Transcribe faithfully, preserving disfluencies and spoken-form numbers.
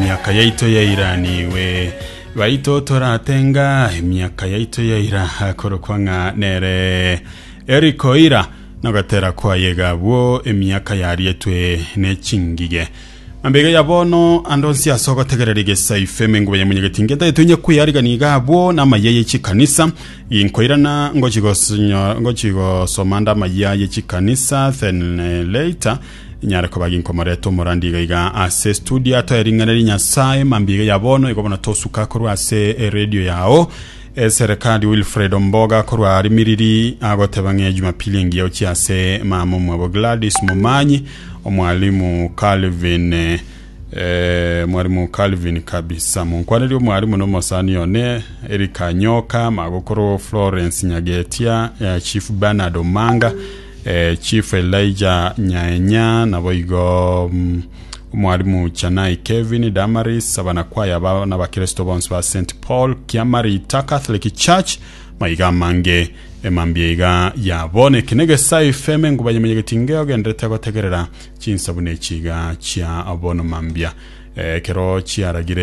Emiaka yaito yairaniwe baito toratenga emiaka yaito yaira korokwa ng'a nere Eric Oira nogatera kwayega bwo emiaka yarietwe nechingige ambege ya bono andonsi ase ogotegerera egesaife emenguba ya munyegetinge ntaetunye kwiyariganiga abwo n'amaya ye chikanisa inkoirana ngochigosinyo- ngochigosoma nda amaya ye chikanisa then eh, later nyare koba ginkomoreta omorandi iga iga ase studio atoering'aneri nyasaye mambiga ya bono igo bono tosuka korwa ase eradio yao eserekari Wilfred Omboga korwa Rimiriri agoteba ng'e Jumapili engiya ochia ase mama omwabo Gladys Momanyi omwalimu Calvin eh, mwalimu Calvin kabisa munkwaneri omwalimu nomosani one Eric Anyoka magokoro Florence Nyagetia eh, Chief Bernard Omanga eh, Chief Elijah Nyaenya nabo igo mm, omwalimu Chanai Kevin Damaris abanakwaya ba n'abakristo bonsi ba St Paul Kiamarita Catholic Church maiga mange emambia iga yabone kinegesa ifeme ngubanyemenyegetinge ogenderete gotegerera chinsabu nechiga chia bono mambia eh, kero chiaragire.